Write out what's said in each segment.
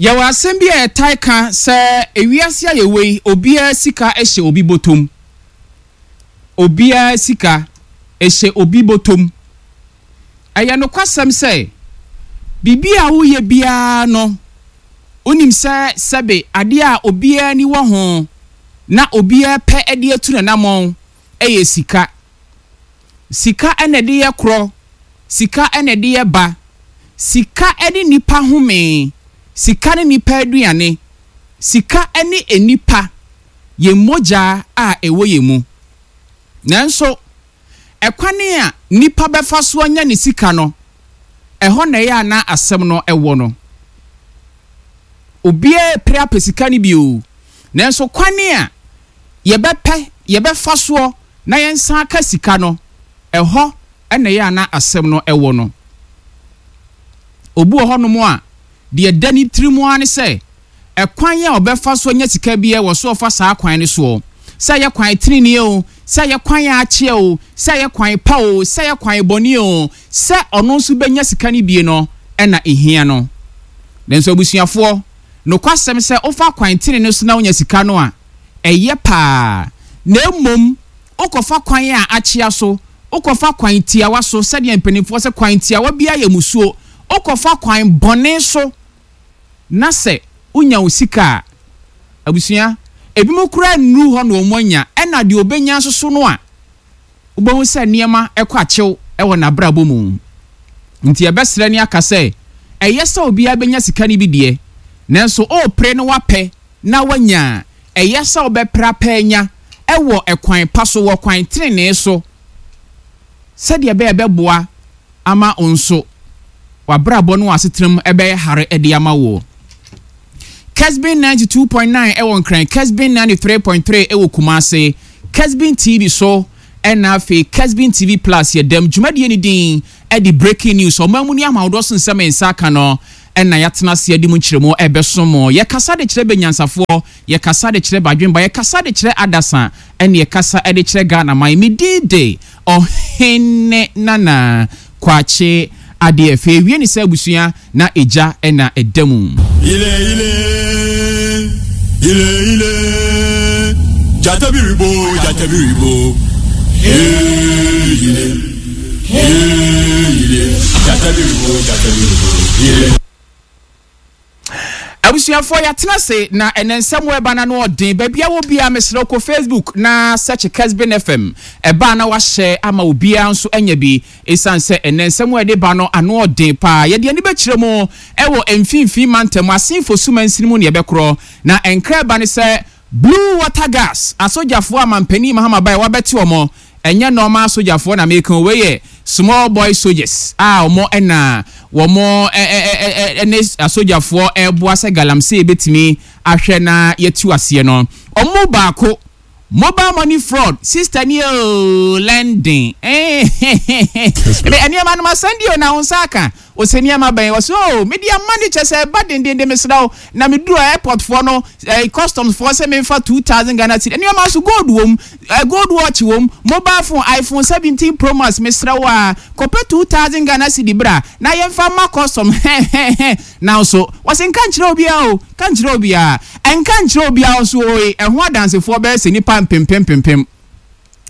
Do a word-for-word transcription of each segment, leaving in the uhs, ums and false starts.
Yɛwɔ asɛm bi a yɛtae ka sɛ ewiase a yɛwɔ yi, obiara sika hyɛ obi bɔtɔm. Obiara sika hyɛ obi bɔtɔm. Ɛyɛ nokwasɛm sɛ biribi a woyɛ biara no, wonim sɛ sɛbe adeɛ a obiara ani wɔ ho na obiara pɛ de atu n'anammɔn yɛ sika. Sika na ɛde yɛ korɔ, sika na ɛde yɛ ba, sika ne nipa home, sika ne nipa aduane, sika ne nipa, yɛn mogya a ɛwɔ yɛn mu. Nanso, ɛkwan a nipa bɛfa so anya ne sika no, ɛhɔ na ɛyɛ a na asɛm no ɛwɔ no. Obiara pere apɛ sika no bi o. Nanso kwan a yɛbɛpɛ, yɛbɛfa soɔ na yɛnsa aka sika no, ɛhɔ na ɛyɛ a na asɛm no ɛwɔ no. Obi wɔ hɔnom a, deɛ da ne tirim ara ne sɛ, ɛkwan a ɔbɛfa so anya sika biara wɔ so ɔfa saa kwan no soɔ. Sɛ ɛyɛ kwan tenenee o, sɛ ɛyɛ kwan a akyea o, sɛ ɛyɛ kwan pa o, sɛ ɛyɛ kwan bɔne o, sɛ ɔno nso bɛnya sika no bie no ɛna ehia no. Nanso abusuafoɔ, nokwasɛm sɛ wofa kwan tenenee so na wonya sika no a, ɛyɛ paa. Na mmom, wokɔfa kwan a akyea so, wokɔfa kwan tiawa so, sɛdeɛ mpanimfoɔ sɛ kwan tiawa biara yɛ musuo, wokɔfa kwan bɔne so na sɛ wonya wo sika a, abusua, ebinom koraa nnuru hɔ na wɔn anya, ɛna deɛ obɛnya nso so no a, wobɛhu sɛ nneɛma ɛkɔ akyew ɛwɔ n'abrabɔ mu. Nti yɛbɛsrɛ ne aka sɛ, ɛyɛ sɛ obiara bɛnya sika no bi deɛ, nanso ɔrepere no wapɛ na wanya a, ɛyɛ sɛ wobɛpere apɛ anya ɛwɔ ɛkwan pa so, wɔ kwan tenenee so, sɛdeɛ ɛbɛyɛ bɛboa ama wo nso w'abrabɔ no w'asetena ɛbɛyɛ hare ɛde ama wo. Kesbin ninety-two point nine ɛwɔ Nkran, Kesbin ninety-three point three ɛwɔ Kumase, Kesbin T V so, ɛna afei Kesbin T V Plus. Yɛ dɛm dwumadie no din ɛde Breaking News, ɔman mu ne amahodoɔ so nsɛm nsa aka no ɛna yɛatena ase adi mu nkyerɛmu ɛbɛso mo. Yɛkasa de kyerɛ bɛnyansafoɔ, yɛkasa de kyerɛ badwemba, yɛkasa de kyerɛ adasa, ɛne yɛkasa de kyerɛ Ghana man. Me din de Ɔhene Nana Kwakye Adeɛ. Fɛ ewie ne sɛ abusua na egya ɛna ɛda mu. Ile ile ile ile jatabiribo jatabiribo ee ile ee ile jatabiribo jatabiribo ile. Abusuafoɔ, yɛatena ase na ɛnɛ nsɛm wɔ ɛba na no ɔden. Baabi a wɔ biara, mesrɛ kɔ Facebook na search Kesbin F M, ɛbaa na wahyɛ ama obiara nso anya bi, ɛsiane sɛ ɛnɛ nsɛm wɔ ɛde ba no ano ɔden paa. Yɛde ani bɛkyerɛ mu ɛwɔ Mfimfini Mantam, Asenfo Sumansini mu ne yɛbɛkorɔ na nkra ɛba ne sɛ Blue Water Guards asogyafoɔ a mampanin Mahama bae wabɛte wɔn. Ɛnyɛ normal sogyafoɔ na meka, wei yɛ small boy soldiers a wɔn ɛna wɔn ɛne asogyafoɔ ɛreboa sɛ galamsey bɛtumi ahwɛ na yɛtu aseɛ no. Wɔn mu baako, mobile money fraud, sister ni o, lending nneɛma no ma sandi o na wɔn nsa aka ɔsɛ nneɛma bɛn wɔsɛ o mede ama ne kyɛ sɛ ɛba dendenden. Mesrɛ wo na meduru airport foɔ no, eh, customs foɔ sɛ memfa two thousand Ghana cedi. Nneɛma nso gold wom, eh, gold watch wom, mobile phone iPhone seventeen Pro Max. Mesrɛ wo a kɔpɛ two thousand Ghana cedi bra na yɛmfa ma custom. Na nso wɔsɛ nka nkyerɛ obiara o, ka nkyerɛ obiara, ɛnka nkyerɛ obiara nso oye. Ɛho adansefoɔ bɛyɛ sɛ nipa mpempem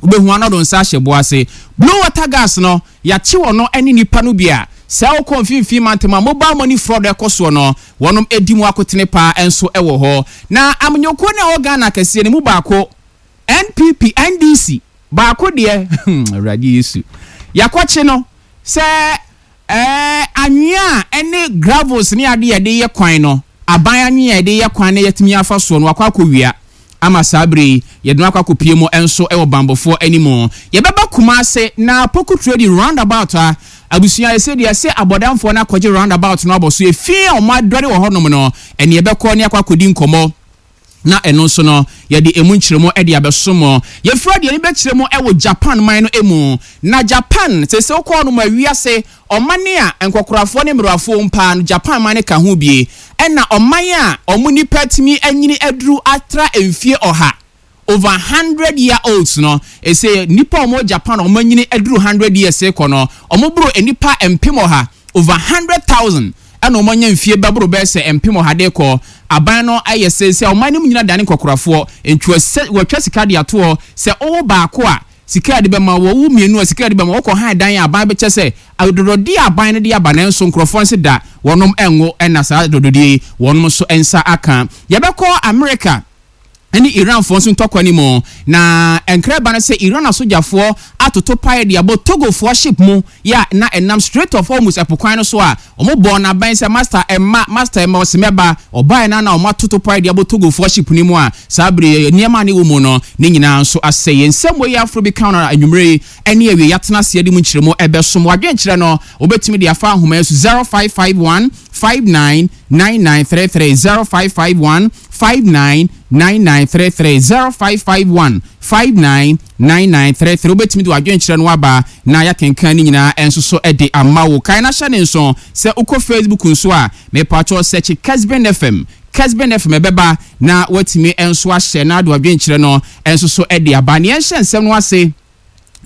wobɛhu anɔdo nsa ahyɛ bo ase. Blue Water Guards no yɛakye wɔ no ne nipa no bi a sɛ wokɔ Mfimfini Mantam a mobile money fraud ɛkɔ soɔ no, wɔnom edi mu akotene paa nso ɛwɔ hɔ. Na amanyɔkuo no a ɛwɔ Ghana kɛseɛ no mu baako, N P P, N D C, baako deɛ, Awurade Yesu, yɛakɔkye no sɛ ɛɛ anwea a ɛne gravels ne ade yɛde yɛ kwan no, aban anwea a yɛde yɛ kwan no yɛtumi afa soɔ no, wakɔ akɔwia ama saa bere yi yɛde no akɔ akɔpie mu nso wɔ bambɔfoɔ anim. Yɛbɛba Kumase na Poku Trading roundabout a abusua yɛsɛ deɛ sɛ abɔdamfoɔ no akɔgye roundabout no abɔ so, efi a wɔn adɔre wɔ hɔnom no, ɛne yɛbɛkɔ ne akɔ akɔdi nkɔmɔ na ɛno nso no yɛde emu nkyerɛmu de abɛso mo. Yɛfura deɛ ne bɛkyerɛ mu wɔ Japan man no mu na Japan sɛ sɛ wokɔɔ no mu awiase ɔman a nkɔkorafoɔ ne mmerɛwafoɔ mpaa no, Japan man no ka ho bie. Ɛna ɔman a ɔmo nipa tumi anyini aduru atra mfie ɔha, over hundred year olds no, ɛsɛ nipa a ɔmo Japan a ɔmo anyini aduru hundred years kɔ no, ɔmo boro nipa mpem ɔha, over hundred thousand. Ɛna wɔn anya mfie bɛboro bɛyɛ sɛ mpem ɔha de kɔ. Aban no ayɛ sɛ sɛ ɔman no mu nyina dane nkɔkorafoɔ, nti wɔatwa sika de atoɔ sɛ wowo baako a, sika a yɛde bɛma wo, wowo mmienu a, sika a yɛde bɛma wo, wokɔ han dan a, aban bɛkyɛ sɛ adɔdɔdeɛ a aban no de aba, nanso nkurɔfoɔ nse da wɔnom nwo na saa adɔdɔdeɛ yi wɔnom nso nsa aka. Yɛbɛkɔ Amerika ne Iranfoɔ nso ntɔkwa no mu, na nkra ba no sɛ Iran asogyafoɔ atoto paeɛ de abɔ Togofoɔ ship mu yɛ a na ɛnam Strait of Hormuz ɛpo kwan no so a wɔn bɔɔ no abɛn sɛ Master ɛmma, Master ɛmma, ɔse mɛba, ɔbaeɛ no ara na wɔn atoto paeɛ de abɔ Togofoɔ ship no mu a saa bere yi nneɛma a na ɛwɔ mu no ne nyinaa nso asɛe. Yɛn nsɛmmɔ yi aforo bi ka ho na anwumerɛ yi ɛne awiei yɛatena ase de mu nkyerɛmu ɛbɛsom. W'adwenkyerɛ no wobɛtumi de afa ahoma yi so zero five five one five nine nine nine three three zero five five one five nine nine nine three three zero five five one five nine nine nine three three. Wobɛtumi de w'adwenkyerɛ no aba na yɛakenkan ne nyinaa nso so de ama wo. Kae na hyɛ ne nso sɛ wokɔ Facebook nso a, mepakyɛw sɛkye Kesben F M, Kesben F M ɛbɛba na woatumi nso ahyɛ na ade w'adwenkyerɛ no nso so de aba. Nea ɛnhyɛ nsɛm no ase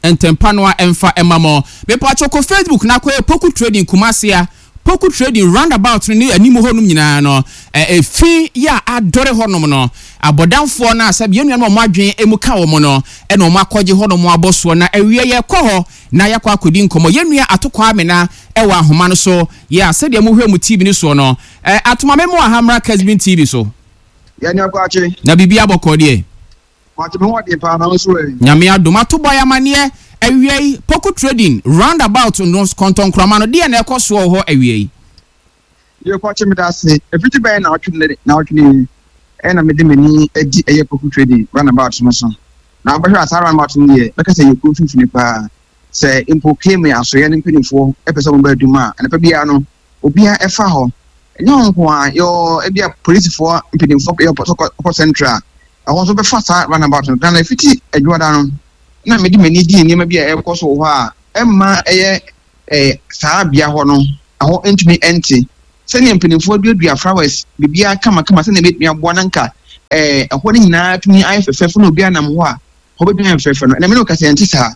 ntɛmpa no a ɛmfa mma mo. Mepakyɛw kɔ Facebook na kɔyɛ Poku Trading Kumasi a Poku Trading roundabout no ne anim hɔnom nyinaa no, efi yɛ a adɔre hɔnom no, abɔdamfoɔ no a sɛbi yɛn nuanom a wɔn adwene mu ka wɔn no na wɔn akɔgye hɔnom abɔ soɔ. Na awia yɛkɔ hɔ na yɛakɔ akɔdi nkɔmmɔ. Yɛn nua Ato Kwame wɔ ahoma no so yɛ a sɛdeɛ mohwɛ mo T V no soɔ no, Atoma me mo aha mmra Kesben T V so. Yɛn nua Kwakye. Na biribi abɔkɔ deɛ? Kwakye, me ho ɔden paa, na wo nso ɛ? Nyame adom. Ato bɔ yɛ amaneɛ awia yi, Poku Trading roundabout no kɔntɔnkrɔma no, deɛ na ɛkɔ soɔ wɔ hɔ awia yi? Yo, Kwakye, meda ase. Ɛfiti bɛyɛ naawɔtwe naawɔtwe ni ɛna mede m'ani adi ɛyɛ Poku Trading roundabout no so. Na wobɛhwɛ a saa roundabout no deɛ, bɛka sɛ yɛ kuro mfimfini paa. Sɛ mpo K M A asoeɛ no mpanimfoɔ ɛpɛ sɛ wɔba adwuma a, anɔpa biara no, obiara ɛfa hɔ. Ɛnyɛ wɔn nko a, yɛwɔ ebi a polisifoɔ mpanimfoɔ yɛ ɔkɔ central, ɛhɔ nso bɛfa saa roundabout no. Na ɛfiti adwuada no, na mede m'ani di nneɛma bi a ɛrekɔ so wɔ hɔ a, ɛmma ɛyɛ ɛɛ saa bea hɔ no, ɛhɔ ntumi ɛnte. Sɛnea mpanimfoɔ aduadua flowers, biribiara kamakama, sɛnea ebetumi aboa na nka ɛɛ ɛhɔ no nyinaa tumi ayɛ fɛfɛɛfɛ na obiara nam hɔ a, hɔ bɛtumi ayɛ fɛfɛɛfɛ no. Ɛna mene kasa ɛnte saa.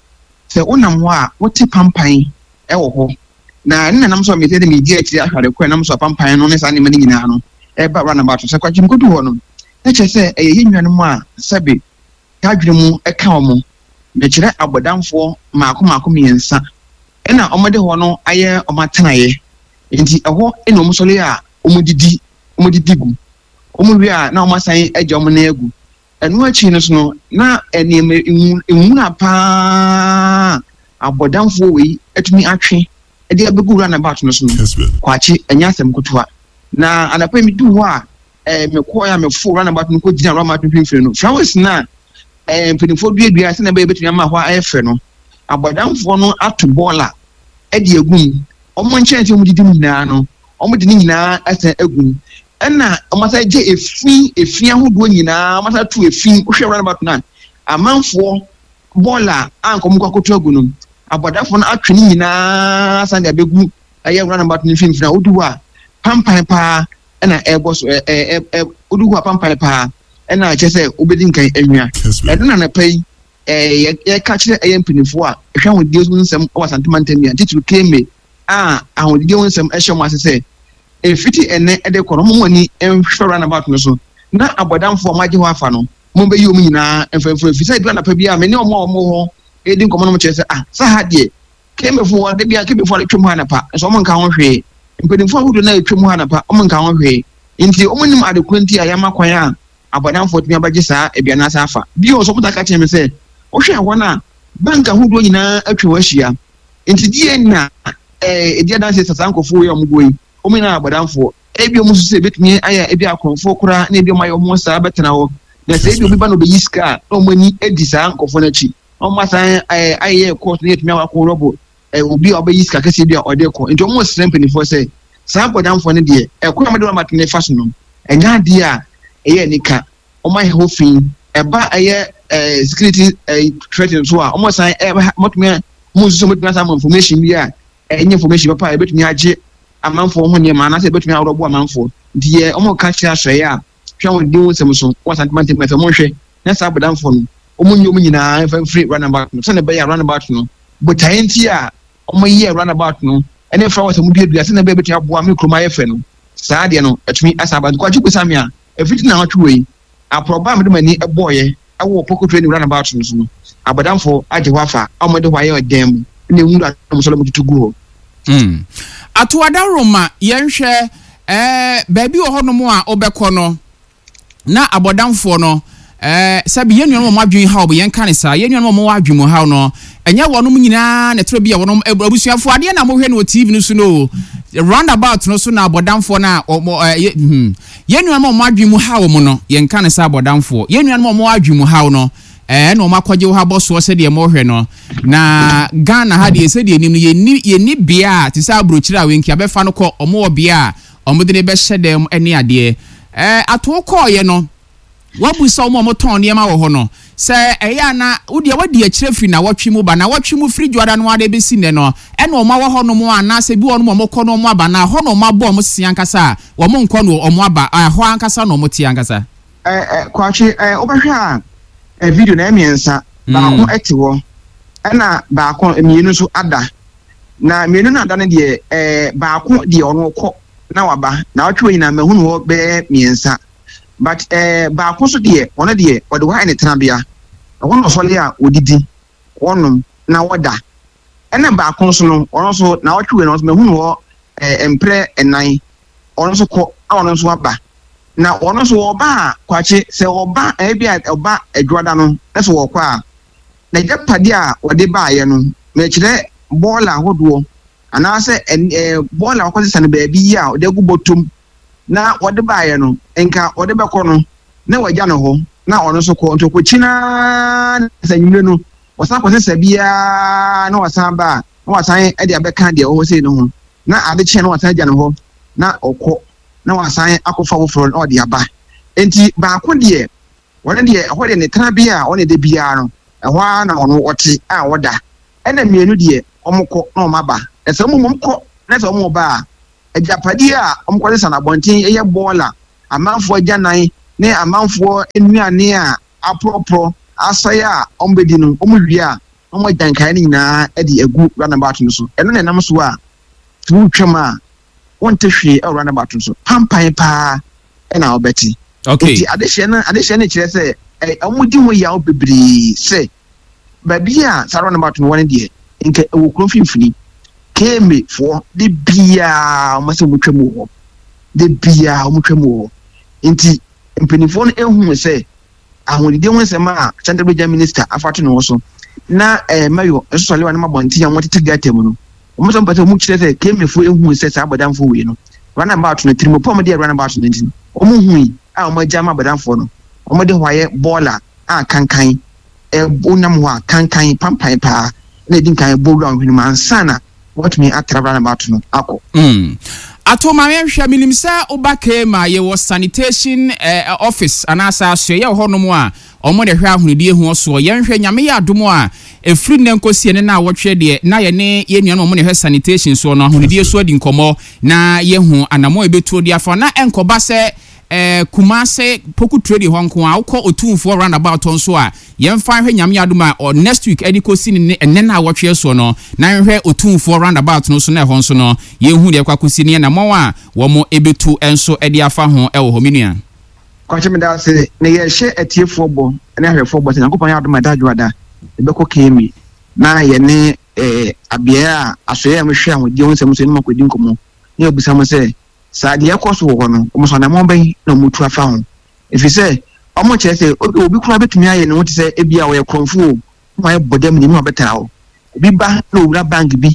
Sɛ wonam hɔ a, wote pampan ɛwɔ hɔ. Na ne nanam so a mete de medi akyire ahwɛ ade kɔ ɛnam so a pampan no ne saa nneɛma no nyinaa no ɛba roundabout. Sɛ Kwakye mkodu hɔ no, na kyerɛ sɛ ɛyɛ yɛn nuanom a sɛbe dadwene mu ɛka wɔn. Mekyerɛ abɔdamfoɔ mmaako mmaako mmiɛnsa ɛna wɔde hɔ no ayɛ wɔn atenaeɛ. Nti ɛhɔ ɛna wɔn sɔre a wɔn didi, wɔn didi gu. Wɔn wie a na wɔn asan agya wɔn nan agu. Ɛno akyi no so no, na nneɛma nwura paa abɔdamfoɔ wei atumi atwe ɛde abɛgu roundabout no so no. Kwakye, ɛnyɛ asɛm ketewa. Na anɔpa yi medu hɔ a, ɛɛ mekɔɔ a mefo roundabout no kɔgyina roundabout no mfimfini no, flowers na ɛɛ mpanimfoɔ duadua sɛnea ɛbɛyɛ bɛtumi ama hɔ ayɛ fɛ no, abɔdamfoɔ no ato bɔɔla ɛde agu mu. Wɔn nkyɛnse a wɔdidi mu nyinaa no, wɔde ne nyinaa asan agu mu. Ɛna wɔn asan gye efi, efi ahodoɔ nyinaa, wɔn asan to efi. Wohwɛ roundabout no a, amanfoɔ bɔɔla a nka wɔn kɔ akɔto agu no, abɔdamfoɔ no atwe ne nyinaa asan de abɛgu ɛyɛ roundabout no mfimfini a wodu hɔ a, pampan paa ɛna ɛrebɔ so, ɛ, ɛ, ɛ, wodu hɔ a pampan paa ɛna kyerɛ sɛ wobɛdi nkan anwia. Ɛno na anɔpa yi, ɛɛ, yɛka kyerɛ ɛyɛ mpanimfoɔ a ɛhwɛ ahodie ho nsɛm wɔ Asante mantam yi a, titiri K M A a ahodie ho nsɛm ɛhyɛ wɔn ase sɛ efiti ɛnɛ ɛde kɔ no, wɔn ani nhwɛ roundabout no so na abɔdamfoɔ a wɔagye hɔ afa no, wɔn bɛyi wɔn nyinaa mfɛmfɛ. Efisɛ edu anɔpa bi a me ne wɔn a wɔn wɔ hɔ edi nkɔmɔ no kyerɛ sɛ, ah, sɛ ha deɛ K M A foɔ de bia K M A foɔ atwam hɔ anɔpa nso wɔn nka ho hwee. Mpanimfoɔ ahodoɔ na atwam hɔ anɔpa wɔn nka ho hwee. Nti wɔn nim ade koro nti a yɛama kwan a abɔdamfoɔ tumi abɛgye saa aduane asa afa. Bio nso wɔn ta ka kyerɛ me sɛ wohwɛ hɔ no a bank ahodoɔ nyinaa atwa hɔ ahyia. Nti deɛ na ɛɛ edi adanse sɛ saa nkurɔfoɔ yi a wɔn guo yi wɔn nyinaa abɔdamfoɔ. Ebi wɔn nso sɛ ebetumi ayɛ ebi akorɔmfoɔ koraa na ebi wɔn ayɛ wɔn saa bɛtena hɔ. Na sɛ ebi obi ba na obeyi sika a na wɔn ani adi saa nkurɔfoɔ no akyi. Na wɔn asan ɛɛ ayɛ kɔɔto na yɛtumi akɔ rɔbo ɛɛ obi a ɔbɛyi sika kɛseɛ bi a ɔde kɔ. Nti wɔn srɛ mpanimfoɔ sɛ saa abɔdamfoɔ no deɛ ɛkwan a wɔde wɔn amatene fa so no ɛnyɛ adeɛ a ɛyɛ anika. Wɔn ayɛ hɔ fi ɛba ɛyɛ ɛɛ security ɛɛ threat nso a wɔn san ɛɛ wɔtumi wɔn nso wɔtumi asan ama information bi a ɛnyɛ information papa a ebetumi agye amanfoɔ ho nneɛma anaasɛ ebetumi awɔrɔbo amanfoɔ. Nti yɛ wɔn ka kyerɛ asɔeɛ a hwɛ wɔn di wɔn nsɛm so wɔn asan tuma ntɛm ɛfɛ wɔn hwɛ na saa abɔdamfoɔ no wɔn nyɛ wɔn nyinaa mfa mfiri roundabout no sɛnea ɛbɛyɛ a roundabout no botaeɛ nti a wɔn yɛ roundabout no Ɛne flowers a wɔduadua sɛnea ɛbɛyɛ bɛtumi aboa me kurom ayɛ fɛ no, saa adeɛ no atumi asan aba. Nti Kwakye bisa me a, ɛfiti naawɔtwe wei, aporɔba a mede m'ani bɔɔyɛ ɛwɔ Poku Trading roundabout no so no, abɔdamfoɔ agye hɔ afa a wɔde hɔ ayɛ ɔdan mu na nwura na wɔn nso wɔtutu gu hɔ. Mm. Ato adaworoma, yɛnhwɛ ɛɛ baabi wɔ hɔnom a wobɛkɔ no na abɔdamfoɔ no, ɛɛ sɛbi, yɛn nuanom a wɔn adwene haw, yɛn ka ne saa, yɛn nuanom a wɔn adwene mu haw no, ɛnyɛ wɔnom nyinaa na ɛtɔrɔ bi a wɔnom abusuafoɔ adeɛ na mohwɛ no wɔ T V no so no, roundabout no so na abɔdamfoɔ no a wɔn ɛɛ hmm yɛn nuanom a wɔn adwene mu haw wɔn no, yɛn ka ne saa abɔdamfoɔ, yɛn nuanom a wɔn adwene mu haw no, ɛɛ na wɔn akɔgye wɔ ha bɔ soɔ sɛdeɛ mohwɛ no. Na Ghana ha deɛ, sɛdeɛ nim no, yɛnni yɛnni bea a te sɛ aburokyire a wenki abɛfa no kɔ, wɔn wɔ bea a wɔn de ne bɛhyɛ dɛm ne adeɛ. Ɛɛ ato kɔɔyɛ no, wabusa wɔn a wɔtɔn nneɛma wɔ hɔ no sɛ ɛyɛ ana wodeɛ wadi akyire firi na wɔtwe mu ba na wɔtwe mu firi dwoada no ara bɛsi nnɛ no, ɛna wɔn awɔ hɔ nom anaasɛ bi wɔn a wɔkɔ no wɔn aba na hɔ na wɔn abɔ wɔn si ankasa a wɔn nkɔ no wɔn aba ɛhɔ ankasa na wɔn te ankasa. Ɛɛ ɛ Kwakye, ɛɛ wobɛhwɛ a, ɛ video na mmiɛnsa, baako ɛte hɔ ɛna baako mmienu nso ada, na mmienu no ada no deɛ, ɛɛ baako deɛ ɔno kɔ na waba na ɔtwe nyinaa mahunu hɔ bɛyɛ mmiɛnsa, but ɛɛ baako nso deɛ, ɔno deɛ ɔde hɔ ayɛ ne tenabea, ɛhɔ na ɔsɔle a odidi, wɔnom na wɔda. Ɛna baako nso no, ɔno nso na ɔtwe no nso mahunu hɔ ɛɛ mprɛ ɛnan, ɔno nso kɔ na ɔno nso aba. Na ɔno nso ɔba a, Kwakye, sɛ ɔba ɛbi a ɔba adwada no na sɛ wɔkɔ a, n'agyapadeɛ a wɔde baayɛ no, mɛkyerɛ bɔɔla ahodoɔ anaasɛ ɛɛ bɔɔla a wɔkɔsesa no baabi yi a ɔde agu bɔtɔm na wɔde baayɛ no, nka wɔde bɛkɔ no na wɔagya no hɔ na ɔno nso kɔ. Nti ɔkɔkyi naa sɛ nwumire no wɔsan kɔsesa biara na wɔsan ba a, na wɔsan de abɛka deɛ ɔwɔ sei no ho, na ade kyeɛ na wɔsan agya no hɔ na ɔkɔ na wɔsan akɔfa foforɔ na ɔde aba. Nti baako deɛ, wɔn deɛ, ɛhɔ deɛ ne tenabea a ɔne de biara no, ɛhɔ ara na ɔno ɔte a ɔda. Ɛna mmienu deɛ, wɔn kɔ na wɔn aba. Na sɛ wɔn mmom kɔ na sɛ wɔn ba a, agyapadeɛ a wɔn kɔsesa no abɔnten ɛyɛ bɔɔla, amanfoɔ agyanan ne amanfoɔ nnuane a aporɔporɔ asɛe a wɔn bɛdi no, wɔn wie a na wɔn agya nkaeɛ no nyinaa de agu roundabout no so. Ɛno na ɛnam so a wotwam a wɔnte hwee ɛwɔ roundabout no so, pampan paa ɛna wɔbɛte. Okay. Nti adehyɛ no adehyɛ no kyerɛ sɛ ɛ wɔn di ho yaw bebree sɛ baabi a saa roundabout no wɔ no deɛ, nka ɛwɔ kuro mfimfini. K M A foɔ de biara wɔn sɛ wɔn twam wɔ hɔ, de biara wɔn twam wɔ hɔ. Nti mpanimfoɔ no ehu sɛ ahonidie ho nsɛm a Central Region Minister afa to ne ho so na ɛɛ mayor nso sɔre wa ne ma abɔnten a wɔtete gutter mu no, wɔn nso mpɛ sɛ wɔn kyerɛ sɛ K M A foɔ ehu sɛ saa abɔdanfoɔ wei no, roundabout no tirimopɔ a wɔde yɛ roundabout no nti wɔn hu yi a wɔn agya ama abɔdanfoɔ no, wɔn de hɔ ayɛ bɔɔla a kankan ɛɛ nam hɔ a kankan pampan paa na edi nkan bɔ wura wɔn hwene mu ansa na wɔtumi atra roundabout no akɔ. Mm. Ato ma yɛnhwɛ, menim sɛ woba K M A, yɛwɔ sanitation eh, office anaasɛ asoɛyɛ wɔ hɔnom a ɔmo de hwɛ ahonidie ho soɔ. Yɛnhwɛ, Nyame yɛ adom a, ɛfiri nnɛ nkɔsie ne na awɔtwe deɛ, na yɛne yɛn nuanom a ɔmo ne hwɛ sanitation soɔ no, ahonidie so adi nkɔmmɔ na yɛhu anammɔ a yɛbɛtuo de afa na ɛnkɔba sɛ eh, Kumase Poku Trade hɔ nko a wokɔ Otumfoɔ roundabout hɔ nso a, yɛmfa nhwɛ. Nyame adom a, ɔ next week ɛde kɔsi ne ɛnɛ no a wɔtwe soɔ no, na yɛnhwɛ Otumfoɔ roundabout no so na ɛhɔ nso no yɛnhu deɛ ɛkɔ akɔsi ne yɛnammɔn a wɔn ɛbɛtu nso ɛde afa ho ɛwɔ hɔ, me nua. Kwakye, meda ase. Na yɛhyɛ atiefoɔ bɔ ne ahwɛfoɔ bɔ sɛ Nyankopɔn yɛ adom a, ɛda adwoada yɛbɛkɔ K M A na yɛne ɛɛ abeaeɛ a asɔeɛ a mehwɛ ahodie ho nsɛm so ne mu akɔdi nkɔmmɔ na yɛbisa mo sɛ saa deɛ ɛkɔ so wɔ hɔ no, wɔn so anammɔn bɛn na wɔn tu afa ho, ɛfiri sɛ wɔn kyerɛ sɛ obi obi koraa bɛtumi ayɛ ne ho te sɛ ebi a ɔyɛ korɔmfo o, na wayɛ bɔ dɛm ne mu abɛtena hɔ. Obi ba na owura bank bi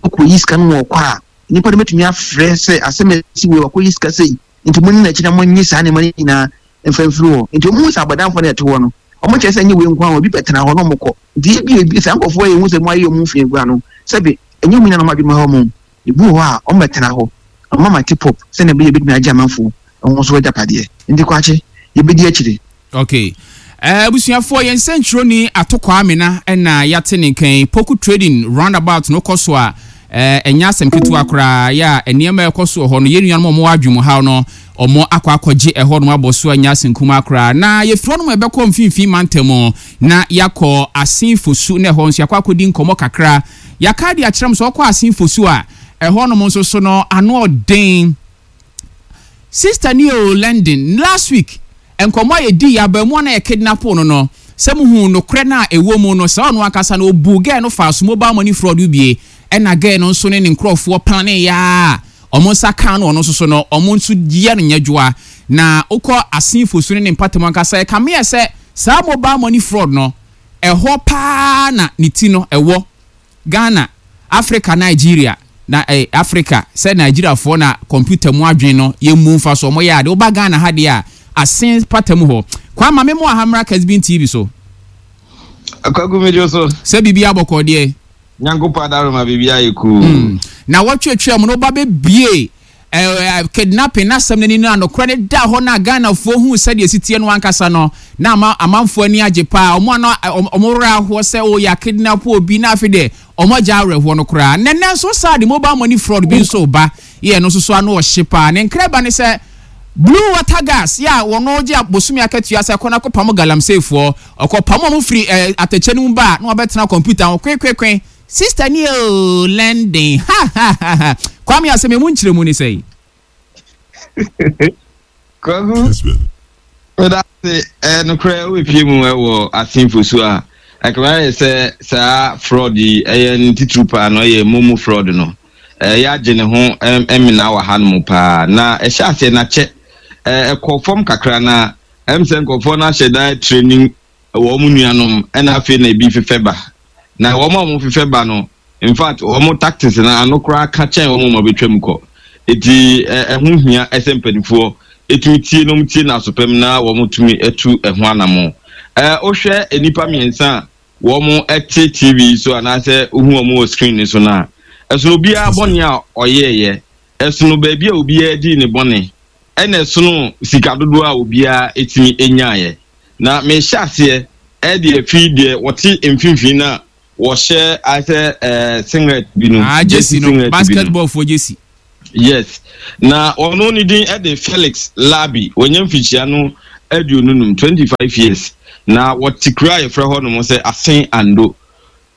ɔkɔyi sika no wɔ kɔ a, nipa no bɛtumi afrɛ sɛ asɛm a ɛsi wei, wakɔyi sika sei, nti mo ne n'akyi na mo nye saa nneɛma no nyinaa mfa mfiri hɔ. Nti wɔn hu sɛ abɔdanfoɔ no ɛte hɔ no, wɔn kyerɛ sɛ nye wei nko ara, obi bɛtena hɔ na wɔn kɔ. Nti ebi ebi saa nkurɔfoɔ yɛ ehu sɛ mo ayɛ wɔn fi agua no, sɛbi ɛnyɛ wɔn nyinaa na wɔn adwuma hɔ mo ebi wɔ hɔ a wɔn bɛtena hɔ, wɔn ama tip up sɛnea ɛbɛyɛ ebɛtumi agye amanfoɔ wɔn nso agyapadeɛ. Nti Kwakye, yɛbɛdi akyire. Okay, abusuafoɔ, yɛn nsɛntwerɛni Ato Kwamena ɛna yɛate ne nkan. Poku Trading roundabout no kɔ so a, ɛnyɛ asɛm ketewa koraa. Yɛ a nneɛma a ɛkɔ so wɔ hɔ no, yɛn nuanom a wɔwɔ adwene haw no, ɔmo akɔ akɔgye ɛhɔ nom abɔ so, anya asɛm kumaa koraa. Na yɛfiri hɔ nom ɛbɛkɔ Mfimfini Mantam na yɛakɔ Assin Fosu, na ɛhɔ nso yɛakɔ akɔdi nkɔmmɔ kakra. Yɛaka de akyerɛ m sɛ ɔkɔ Assin Fosu a, Ɛhɔnom nso so no ano ɔden. Sister ni o London last week nkɔmɔ a yɛdi yɛ abamu na yɛ kidnap no no sɛ muhu nokorɛ no a ɛwɔ mu no, sɛ ɔno ankasa no ɔbu girl no fa so mobile money fraud bie, ɛna girl no nso ne ne nkurɔfoɔ plan yɛ a ɔmo nsa ka no, ɔno nso so no ɔmo nso yɛ no nyɛdwoa. Na wokɔ asenfo so ne ne mpatam ankasa, ɛkame yɛ sɛ saa mobile money fraud no ɛhɔ paa na ne ti no ɛwɔ Ghana, Africa, Nigeria na eh, Africa sɛ Nigeriafoɔ na computer mu adwene no yɛmmu mfa so ɔmo yɛ ade. Woba Ghana ha deɛ a, asen patam hɔ kwa ma memo ahamra Kesbin T V so. Akwagu, mi so. Sɛ biribi abɔkɔ deɛ. Nyankopɔn adaroma, biribi ayɛ cool. mm. na wɔtwetwe mu no, woba bɛbie eh, kidnapping n'asɛm no ni no a nokorɛ no da hɔ na Ghanafoɔ hu sɛdeɛ si teɛ no ankasa no, na ama amanfoɔ ani agye paa. Ɔmo ano ɔmo werɛ ahoɔ sɛ ɔyɛ kidnap obi, na afei deɛ ɔmo agya awerɛhoɔ no koraa. Nɛnɛ nso saa de mobile money fraud bi nso ba yɛ no nso so ano ɔhye paa. Ne nkra ba ne sɛ Blue Water Gas yɛ a wɔn gye bosomi akatua sɛ kɔnɔ akɔpam galamseyfoɔ, ɔkɔpam wɔn firi ɛɛ atɛkyɛ no mu ba a, na wɔabɛtena kɔmputa ho kwekkwekwe. Sister ni o London, ha ha ha ha. Kwame, asɛm emu nkyerɛmu ni sɛ. Kwaku, meda ase. Ɛɛ nokorɛ, wobɛpie mu ɛwɔ asenfo so a, ɛkama yɛ sɛ saa fraud yi ɛyɛ ne titiri paa no, ɛyɛ momo fraud no, ɛyɛ agye ne ho ɛmena wɔ ha no mu paa. Na ɛhyɛ aseɛ n'akyɛ ɛɛ ɛkɔ fam kakra, na ɛm sɛ nkurɔfoɔ no ahyɛ dan training wɔn nuanom, ɛna afei na ebi fefɛ ba. Na wɔn a wɔn fefɛ ba no, in fact, wɔn tactics na ano koraa ka kyɛn wɔn a wɔbɛtwa mu kɔ. Eti ɛho hia ɛsɛ mpanimfoɔ etumi tie na wɔn tie n'asopɛm na wɔn tumi etu ɛho anamo. ɛɛ wohwɛ nnipa mmiɛnsa a wɔn ɛte T V so anaasɛ wohu wɔn wɔ screen ne so na ɛsono obiara bɔne a ɔyɛɛyɛ, ɛsono baabi a obiara di ne bɔne, ɛna ɛsono sika dodoɔ a obiara etumi enyaayɛ. Na mehyɛ aseɛ ɛde afi deɛ wɔte mfimfini na wɔhyɛ asɛ ɛɛ singlet bi no. Ah, jersey no, basketball fo jersey. Yes, na ɔno ne din ɛde Felix Labi. Wɔnyɛ mfikyia no aduonu num, twenty five years, na wɔte kuro a yɛfrɛ hɔ nom sɛ Asen Ando.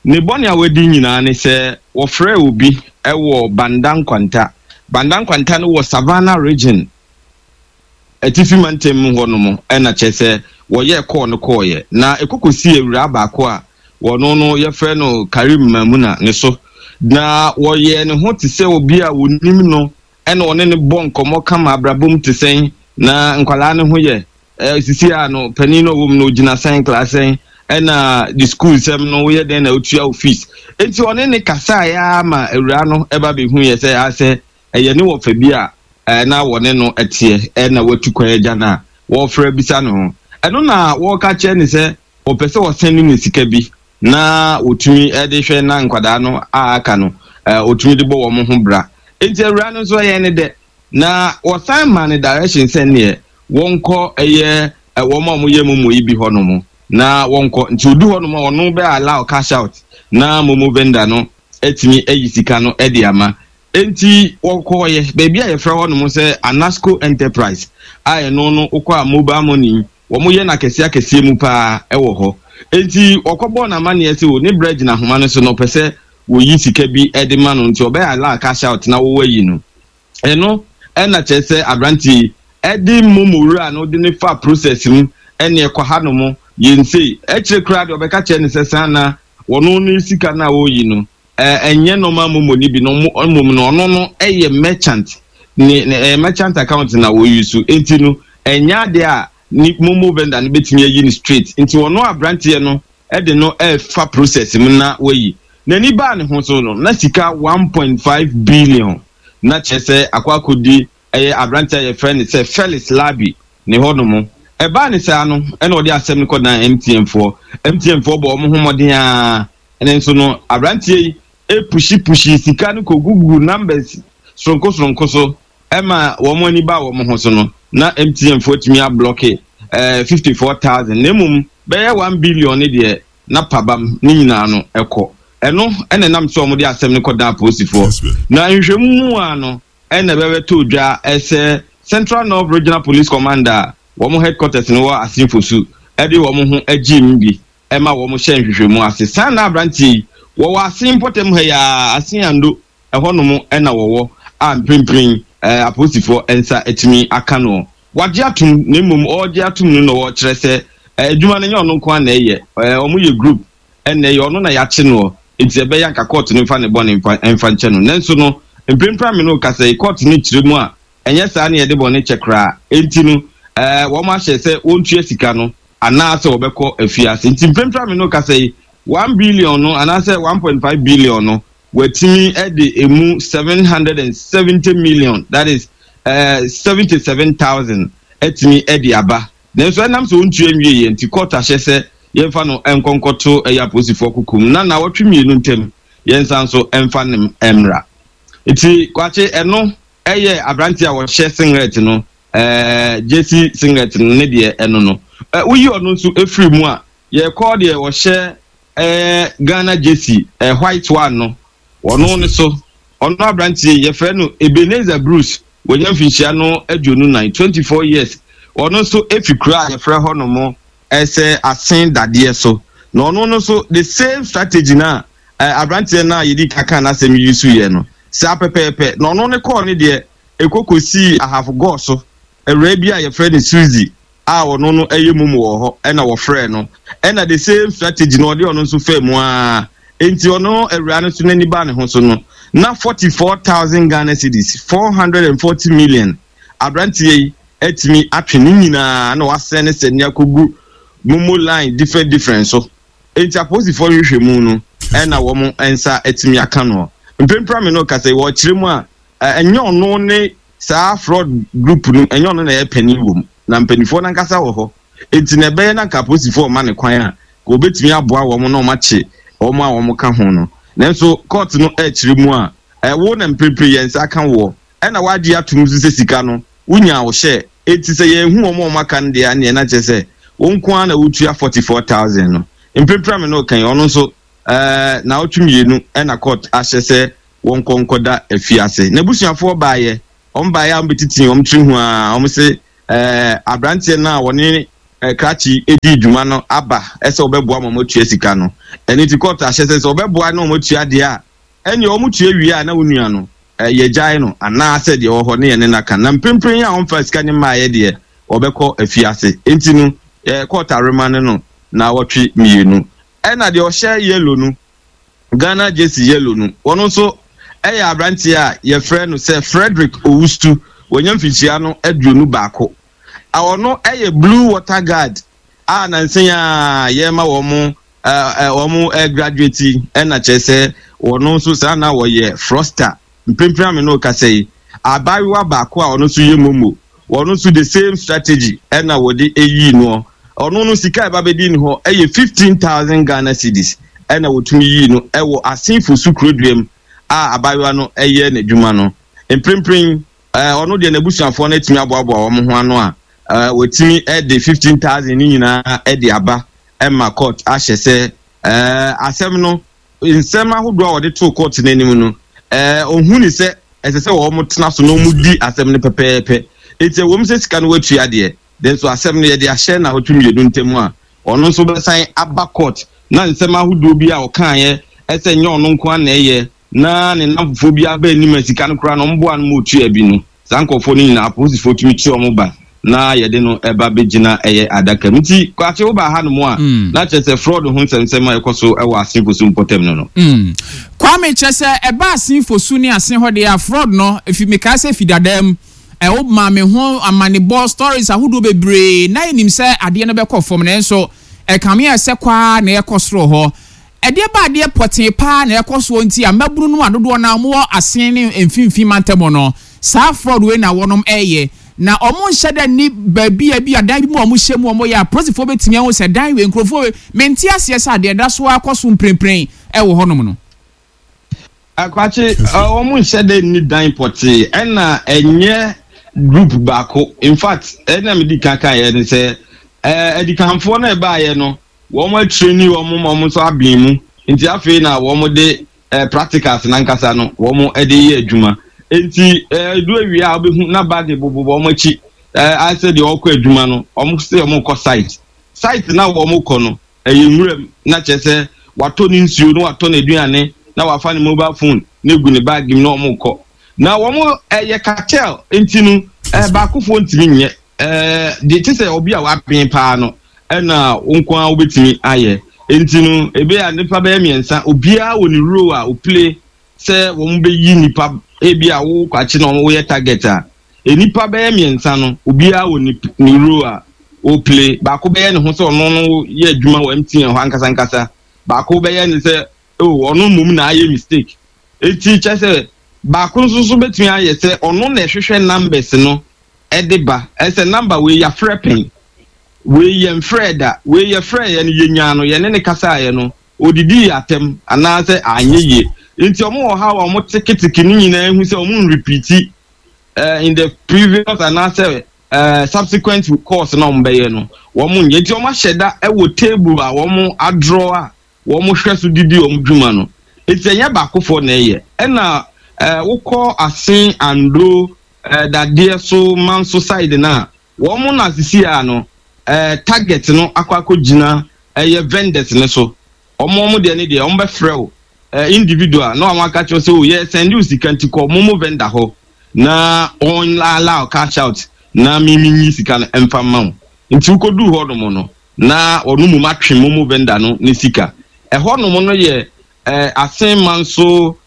Ne bɔne a wadi nyinaa ne sɛ wɔfrɛ obi ɛwɔ Banda Nkwanta. Banda Nkwanta no wɔ Savannah Region, atifi mantam mu hɔ nom. Ɛna kyerɛ sɛ wɔyɛ kɔɔ no kɔɔyɛ na ɛkɔkɔsi awuraa baako a wɔno no yɛfrɛ no Karim Mamuna ne so, na wɔyɛ ne ho te sɛ obi a wɔnim no, ɛna ɔne ne bɔ nkɔmmɔ kama, abrabom te sɛn, na nkwalaa ne ho yɛ ɛɛ sisi a no panin no a ɔwɔ mu no ogyina sɛn class sɛn, ɛna the school sɛm no woyɛ dɛn na otua wo fees. Eti ɔne ne kasa ya ama awuraa no ɛba behu yɛ sɛ asɛ ɛyɛ ne wɔfa bi a ɛɛ na wɔne no ɛteɛ, ɛna watu kwan agya no a wɔfrɛ bisa ne ho. Ɛno na wɔreka kyerɛ ne sɛ wɔpɛ sɛ wɔsɛn ne sika bi na wɔtumi ɛde hwɛ na nkwadaa no a aka no ɛɛ wɔtumi de bɔ wɔn ho bra. Eti awuraa no nso ɛyɛ ne dɛ na wɔsan ma ne direction sɛ neɛ wɔnkɔ ɛyɛ ɛ wɔn a wɔyɛ momo yi bi hɔnom na wɔnkɔ. Nti odu hɔnom a, ɔno bɛ allow cash out na momo vendor no ɛtumi ayi sika no ɛde ama. Nti wɔkɔɔyɛ baabi a yɛfrɛ hɔnom sɛ Anasco Enterprise a ɛno no wokɔ a, mobile money wɔn yɛ no akɛseɛ akɛseɛ mu paa ɛwɔ hɔ. Nti wɔkɔbɔɔ n'amanneɛ sɛ o ne brɛ gyina ahoma no so na ɔpɛ sɛ wɔyi sika bi ɛde ma no, nti ɔbɛyɛ allow cash out na wɔwɔ ayi no. Ɛno ɛna kyerɛ sɛ aberanteɛ yi ɛde momo wura no de ne fa process mu, ɛne ɛkɔ ha nom yɛnsei ɛkyerɛ koraa deɛ ɔbɛka kyerɛ ne sɛ saa na wɔno ne sika no a wɔreyi no ɛɛ ɛnyɛ normal momo ni bi no, mmom no ɔno no ɛyɛ merchant ne ne ɛyɛ merchant account na wɔyi so, eti no ɛnyɛ adeɛ a ne momo vendor no bɛtumi ayi no straight. Nti ɔno aberanteɛ no ɛde no ɛɛfa process mu na wɔyi n'ani baa ne ho so no na sika one point five billion na kyerɛ sɛ akɔ akɔdi ɛyɛ aberanteɛ a yɛfrɛ no sɛ Felix Labi ne hɔnom. Ɛbaa ne saa no, ɛna ɔde asɛm no kɔdan M T N foɔ. M T N foɔ bɔ wɔn ho mmɔden a, ɛne nso no aberanteɛ yi epush push sika no kɔ gugu numbers soronko soronko so, ɛma wɔn ani ba wɔn ho so no na M T N foɔ tumi ablock ɛɛ fifty four thousand, na emom bɛyɛ one billion ne deɛ na pabam ne nyinaa no ɛkɔ. Ɛno ɛna ɛnam sɛ wɔn de asɛm no kɔdan apolisifoɔ na nhwehwɛmu mu a no ɛna ɛbɛbɛtɔ dwa ɛsɛ Central North Regional Police Command a wɔn headquarters no wɔ Asinfosu ɛde wɔn ho agye mu bi ɛma wɔn hyɛ nhwehwɛmu ase. San na aberanteɛ yi wɔwɔ Asen mpɔtam ha yaa Asen Ando. Ɛhɔnom ɛna wɔwɔ a mprempren ɛɛ apolisifoɔ nsa atumi aka no. Wagye atum, na mmom ɔregye atum no na wɔkyerɛ sɛ adwuma no nyɛ ɔno nko ara na ɛyɛ. ɛɛ ɔmo yɛ group ɛna ɛyɛ. Ɔno na yɛakye no, nti ɛbɛyɛ anka court no mfa ne bɔ ne mfa mfa nkyɛn no. Nanso no, mprempren mi no kasa yi, court no kyerɛ mu a ɛnyɛ saa ne yɛde bɔ ne kyɛ koraa. Enti no, ɛɛ wɔn ahyɛ sɛ wɔntua sika no anaasɛ wɔbɛkɔ afiase. Nti mprempren mi no kasa yi, one billion no anaasɛ one point five billion no, wɔatumi ɛde emu seven hundred and seventy million, that is ɛɛ seventy seven thousand ɛtumi ɛde aba. Nanso ɛnam sɛ wɔntua nwie yɛ nti, court ahyɛ sɛ yɛmfa no nkɔnkɔto ɛyɛ apolisifoɔ kukum na nawɔtwe mmienu ntam yɛnsa nso ɛmfa ne mmra. Nti Kwakye, ɛno ɛyɛ aberante a wɔhyɛ singlet no, ɛɛ jersey singlet no ne deɛ ɛno no. ɛ woyi ɔno nso efiri mu a, yɛkɔ deɛ wɔhyɛ ɛɛ Ghana jersey, ɛ white one no. Ɔno ne so, ɔno aberanteɛ yɛfrɛ no Ebenezer Bruce. Wɔnya mfinhyia no aduonu nan, twenty four years. Ɔno nso efi kura a yɛfrɛ hɔ nom ɛsɛ Asen Dadeɛ so. Na ɔno no nso, the same strategy na ɛ aberanteɛ no a yɛdi kaka n'asɛm yi so yɛ no saa pɛpɛɛpɛ. Na ɔno ne kɔɔ ne deɛ ekoko sii Ahafo gɔɔ so awuraa bi a yɛfrɛ no Suzy a ɔno no ɛyɛ mum wɔ hɔ, ɛna wɔfrɛ no, ɛna the same strategy na ɔde ɔno nso fɛ mu aa. Nti ɔno awuraa no so n'ani ba ne ho so no, na forty four thousand Ghana cedis, four hundred and forty million, aberanteɛ yi atumi atwe ne nyinaa na wasɛn ne sɛ ne akɔgu momo line different different so. Nti apolisifoɔ hwehwɛ mu no, ɛna wɔn nsa atumi aka no. Mpempem mi no kasa yi, wɔkyerɛ mu a, ɛnyɛ ɔno ne saa fraud group no, ɛnyɛ ɔno na ɛyɛ panyin wɔ mu, na mpanimfoɔ nankasa wɔ hɔ. Nti na ɛbɛyɛ na nka apolisifoɔ ɔma ne kwan a, ka obetumi aboa wɔn na wɔn akye wɔn a wɔn ka ho no. Nanso court no ɛkyerɛ mu a, ɛwo na mprempren yɛn nsa aka wɔ, ɛna wagye atum nso sɛ sika no wonya wo hyɛ. Eti sɛ yɛn hu wɔn a wɔn aka no deɛ, aneɛ na kyerɛ sɛ wɔn nko ara na wotua forty four thousand no. Mprempren mi no kan, ɔno nso ɛɛ naawɔtwe mmienu ɛna court ahyɛ sɛ wɔn nkɔ nkɔda afiase. N'abusuafoɔ baayɛ, wɔn baayɛ a wɔn bɛtiti wɔn tiri ho a, wɔn sɛ ɛɛ aberanteɛ no a wɔne ɛɛ krakye edi dwuma no aba ɛsɛ wɔbɛboa ma wɔn atua sika no. Ɛne ti court ahyɛ sɛ sɛ wɔbɛboa na wɔn atua deɛ a, ɛnea wɔn tua wie a, na wɔn nua no ɛɛ yɛgyae no anaasɛ deɛ ɛwɔ hɔ ne yɛn ne naka. Na mprempren a wɔmfa sika ne mmaayɛ deɛ, wɔbɛkɔ afiase. Nti no, ɛɛ court arema ne no na wɔtwe mmienu. Ɛna deɛ ɔhyɛ yellow no, Ghana jersey yellow no, wɔn nso ɛyɛ aberanteɛ a yɛfrɛ no sɛ Frederick Owustu. Wɔnya mfikyia no aduonu baako. A ɔno ɛyɛ Blue Water Guard a nansan a yɛma wɔn ɛɛ wɔn ɛ graduate. Ɛna kyerɛ sɛ wɔn nso saa na wɔyɛ fraudster. Mpempem ame no kasa yi, abaayewa baako a ɔno nso yɛ momo, wɔn nso the same strategy ɛna wɔde eyi no. Ɔno no, sika a ɛba bɛdi ne hɔ ɛyɛ fifteen thousand Ghana cedis, ɛna wɔtumi yii no ɛwɔ Asenfo so kurodua mu a abaayewa no ɛyɛ n'adwuma no. Mprempren ɛɛ ɔno deɛ, n'abusuafoɔ no atumi aboaboa wɔn ho ano a ɛɛ wɔtumi ɛde fifteen thousand ne nyinaa ɛde aba, ɛma court ahyɛ sɛ ɛɛ asɛm no, nsɛm ahodoɔ a wɔde too court n'anim no, ɛɛ ohun ni sɛ ɛsɛ sɛ wɔn tena so na wɔn di asɛm no pɛpɛɛpɛ. Eti ɛwɔ mu sɛ sika no watua deɛ, nanso asɛm no yɛde ahyɛ na awɔtwe mmienu ntam a ɔno nso bɛsan aba court na nsɛm ahodoɔ bi a ɔkaeɛ ɛsɛ nyɛ ɔno nko ara na ɛyɛ, na ne namfofoɔ bi aba anim a sika no koraa na ɔmboa no ma otua bi no. Saa nkurɔfoɔ no nyinaa, apolisifoɔ tumi kye wɔn ba na yɛde no ɛba bɛgyina ɛyɛ adaka mu. Nti Kwakye, woba ha nom a, Mm. na kyerɛ sɛ fraud ho nsɛmsɛm a ɛkɔ so ɛwɔ Asenfo so mpɔtam no no. Mm. Kwame, kyerɛ sɛ ɛba Asenfo su ne asen hɔ deɛ a, fraud no efi mekae sɛ fi dadaa mu ɛwo maa me ho amanebɔ stories ahodoɔ bebree na yɛnim sɛ adeɛ no bɛkɔ fam, nanso ɛkame a ɛsɛ kwaa na ɛkɔ soro hɔ. Ɛdeɛ ba adeɛ pɔtee paa na ɛkɔ soɔ nti a mmabunu no a dodoɔ no a wɔwɔ asen ne mfimfini mantam no, saa fraud wei na wɔnom ɛyɛ, na ɔmo nhyɛ dɛ ni baabi a bi adan bi mu a ɔmo hyɛ mu a ɔmo yɛ a apolisifoɔ bɛtumi ahu sɛ dan wei nkurɔfoɔ wei. Mente aseɛ sɛ adeɛ da so akɔ so mprempren ɛwɔ hɔnom no. Akwakye, wɔn nhyɛ dɛ ni dan pɔtee, ɛna ɛnyɛ group baako. In fact, ɛna mi di kankan yɛ ne sɛ ɛɛ adikanfoɔ no ɛbaayɛ no, wɔn atraining wɔn ma wɔn nso abɛn mu. Nti afei na wɔn de ɛɛ practicals nankasa no wɔn de yɛ adwuma. Nti ɛɛ edu awia a, wɔbɛhu na bag bobɔ wɔn akyi, ɛɛ asɛ deɛ ɔkɔ adwuma no. Wɔn sɛ wɔn kɔ site site na wɔn kɔ no ɛyɛ nwuram, na kyerɛ sɛ watɔ ne nsuo na watɔ n'aduane na wafa ne mobile phone. Na egu ne bag mu na wɔn kɔ. Na wɔn ɛyɛ cartel, nti no ɛɛ baakofoɔ ntumi nyɛ ɛɛ deɛ te sɛ obi a waben paa no ɛna nko ara wobɛtumi ayɛ. Nti no ebe a nipa bɛyɛ mmiɛnsa, obiara wɔ ne role a oplay sɛ wɔn bɛyi nipa. Ebi a wo kwakye na wɔn yɛ target a, nipa bɛyɛ mmiɛnsa no, obiara wɔ ne ne role a oplay. Baako bɛyɛ ne ho sɛ ɔno no yɛ adwuma wɔ M T N hɔ ankasa ankasa, baako bɛyɛ ne sɛ oh, ɔno mmom na ayɛ mistake. Eti kyɛ sɛ baako nso so bɛtumi ayɛ sɛ ɔno na ɛhwehwɛ numbers no ɛde ba, ɛsɛ number wei yɛafrɛ pɛn, wei yɛn frɛ da, wei yɛfrɛ yɛ no, yɛnyaa no, yɛne ne kasaeɛ no, odidi yɛ atɛm anaasɛ anyɛ yie. Nti ɔmo wɔ ha a ɔmo teketeke ne nyinaa ehu sɛ ɔmo nrepeat uh, in the previous anaasɛ uh, subsequent course na ɔmo bɛyɛ no, wɔn nyɛ. Nti ɔmo ahyɛ da ɛwɔ table a wɔn adraw a wɔn hwɛ so didi wɔn dwuma no. Eti ɛnyɛ baakofoɔ na ɛyɛ. Ɛna ɛɛ wokɔ Asen Ando, ɛɛ dadeɛ so Manso side na wɔn na sisi a no ɛɛ target no akɔ akɔ gyina ɛyɛ vendors ne so. wɔn wɔn deɛ ne deɛ wɔn bɛfrɛ wo ɛɛ individual na wɔn aka kyerɛ sɛ o, yɛ send you sika, nti kɔ momo vendor hɔ na wɔn allow cash out na mimi nyi sika no mfa ma wo. Nti wokɔduu hɔ nom no, na ɔno mu atwe momo vendor no ne sika. Ɛhɔ nom no yɛ ɛɛ Asen Manso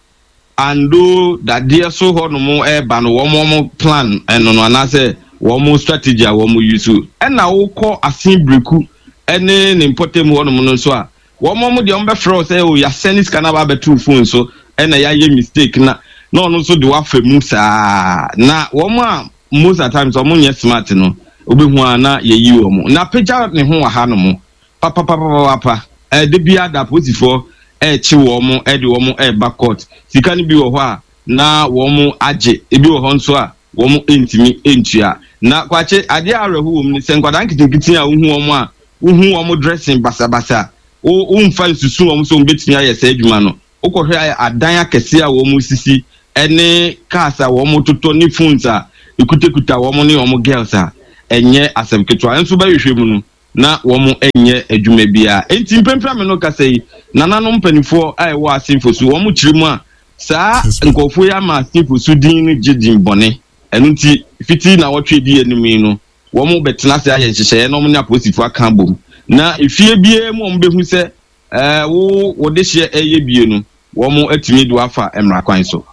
Ando dadeɛ so hɔ nom ɛɛba no, wɔn wɔn plan ɛno no anaasɛ wɔn strategy a wɔn use. Ɛna wokɔ Asen Biriku ɛne ne mpɔtam hɔ nom no nso a, wɔn wɔn deɛ, wɔn bɛfrɛ wo sɛ o, yasɛne sika na aba abɛto phone so, ɛna yɛayɛ mistake, na na ɔno nso de wafa mu saa. Na wɔn a most of the times wɔn nyɛ smart no, wobɛhu a na yɛyi wɔn na apagya ne ho wɔ ha nom papapapapa. Ɛde bi ada, apolisifoɔ ɛrekye wɔn, ɛde wɔn ɛreba court. Sika no bi wɔ hɔ a na wɔn agye, ebi wɔ hɔ nso a wɔn ntumi ntua. Na kwakye, adeɛ a awerɛho wɔ mu ni sɛ nkwadaa nketenkete a wohu wɔn a wohu wɔn dressing basabasa, wo womfa nsusu wɔn so wɔn bɛtumi ayɛ saa adwuma no. Wokɔhwɛ adan akɛseɛ a wɔn sisi, ɛne cars a wɔn totɔ, ne phones a ekutakuta wɔn ne wɔn girls a, ɛnyɛ asɛm ketewa. Nso bɛhwehwɛ mu no na wɔn nyɛ adwuma biara. Enti mpempem mi no kasa yi, nananom mpanimfoɔ a ɛwɔ Asenfo so, wɔn kyerɛ mu a saa nkurɔfoɔ yi ama Asenfo so din no gye din bɔne. Ɛno nti fiti na wɔtwe di anim yi no, wɔn bɛtena ase ayɛ nhyehyɛeɛ na wɔn ne apolisifoɔ aka bom na efie biara mu wɔn bɛhu sɛ ɛɛ wo wɔde hyɛ ɛyɛ bie no, wɔn atumi de wafa mmara kwan so.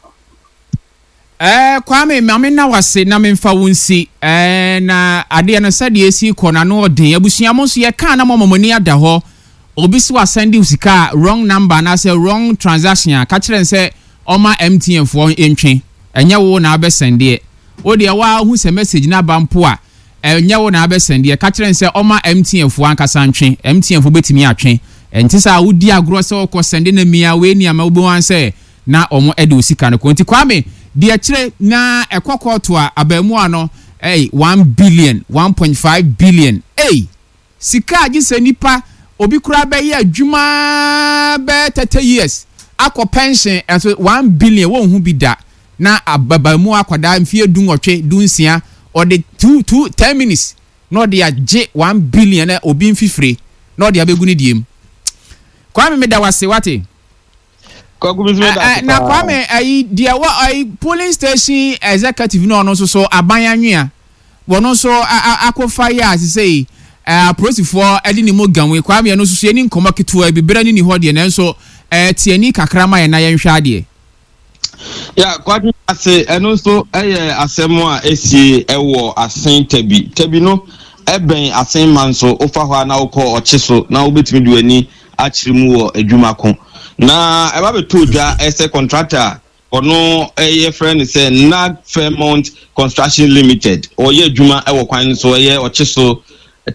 Ɛɛ Kwame, maame na wase na memfa wo nsi ɛɛ na adeɛ no sɛdeɛ esi kɔ n'ano ɔden. Abusua, mo nso yɛkaa na mo ama mo ani ada hɔ. Obi si wasend sika a, wrong number anaasɛ wrong transaction a, ka kyerɛ n sɛ ɔma M T N foɔ ntwe. Ɛnyɛ wo na abɛsendeɛ. Wo deɛ waa hu sɛ message no aba mpo a, ɛnyɛ wo na abɛsendeɛ. Ka kyerɛ n sɛ ɔma M T N foɔ ankasa ntwe. M T N foɔ bɛtumi atwe. Ɛnti sɛ a wodi agorɔ sɛ ɔkɔ send na mia wei nneɛma, wobɛhu sɛ na ɔmo ɛde o sika no kɔ. Nti Kwame deɛ, kyerɛ na ɛkɔ kɔɔto a, abaamuwa no ɛy one billion, one point five billion. Ɛy sika a gye sɛ nipa obi koraa bɛyɛ adwuma bɛyɛ thirty years akɔ pension, ɛnso one billion wɔn ho bi da. Na ababaamu akwadaa mfie du nwɔtwe du nsia, ɔde two two ten minutes na ɔde agye one billion na obi nfifire na ɔde abɛgu ne die mu. Kwame, mi da wase, wate. Kwaku bi nso da ase. Na Kwame, ayi deɛ wɔ ayi polling station executive no, ɔno nso so aban anwea wɔn nso akɔfa yɛ asese yi, apolisifoɔ ɛde ne mu ganwe. Kwame, ɛno nso so yɛni nkɔmɔ ketewa bi berɛ ne ni hɔ deɛ, nanso ɛɛ tiɛni kakra ma yɛn na yɛnhwɛ adeɛ. Ya, Kwakye, ase ɛno nso ɛyɛ asɛm a esie ɛwɔ Asen Tabi. Tabi no ɛbɛn Asen ma nso wofa hɔ a na wokɔ ɔkye so na wobɛtumi de w'ani akyerɛ mu wɔ adwuma ko. Na ɛba bɛtɔ dwa ɛsɛ contractor a ɔno ɛyɛ frɛ no sɛ Nag Fairmont Construction Limited, ɔyɛ adwuma ɛwɔ kwan no so, ɛyɛ ɔkye so